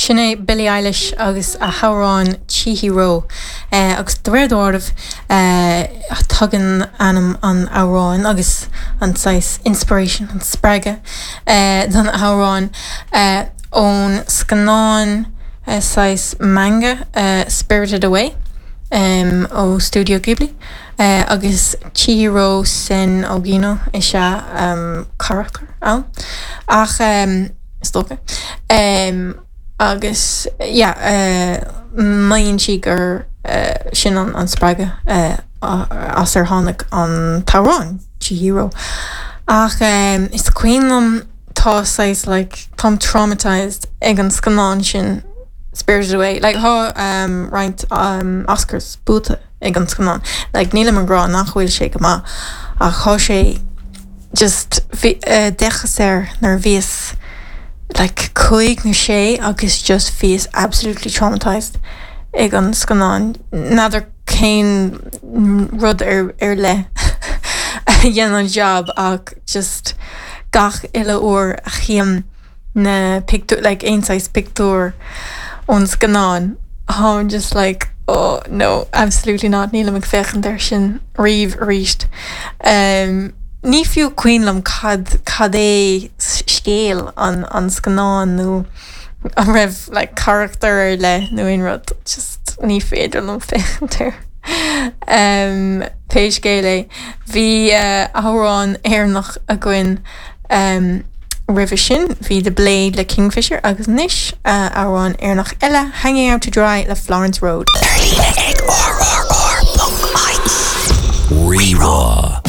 Sin é Billie Eilish agus a hamhrán Chihiro. Agus de réir dealraimh, tagann ainm an amhráin agus an saghas inspiration, an spreagadh don amhrán ón scannán saghas manga Spirited Away ó Studio Ghibli. Agus Chihiro Sen Ogino is ea carachtar ann. Ach. is dócha. Agus yeah, maíonn sí gur sin an spreagadh as ar tháinig an t-amhrán, Chihiro. Ach is cuimhin liom, tá saghas like, táim traumatised ag an scannán sin, Spirited Away. Like tá roinnt Oscars buaite ag an scannán. Like nílim ag rá nach bhfuil sé go maith ach tá sé just bhí, d'fhéachas air nuair a bhíos like cúig nó sé agus just bhíos absolutely traumatised ag an scannán. N'fheadar cén rud ar ar leith a dhein an jab ach just gach uile uair a chím na pictiúir, like aon saghas pictiúr ón scannán, táim just like oh no, absolutely not, nílim ag féachaint air sin riamh arís. Ní fiú cuimhin liom cad, cad é scéal an, an scannáin nó an raibh like carachtar ar leith nó aon rud, just ní féidir liom féachaint air. Pé scéal é, bhí amhrán Éireannach againn Roimhe sin, bhí The Blade le Kingfisher agus anois, amhrán Éireannach eile, Hanging Out To Dry le Florence Road. Ar líne ag rrr.ie. Rí-rá.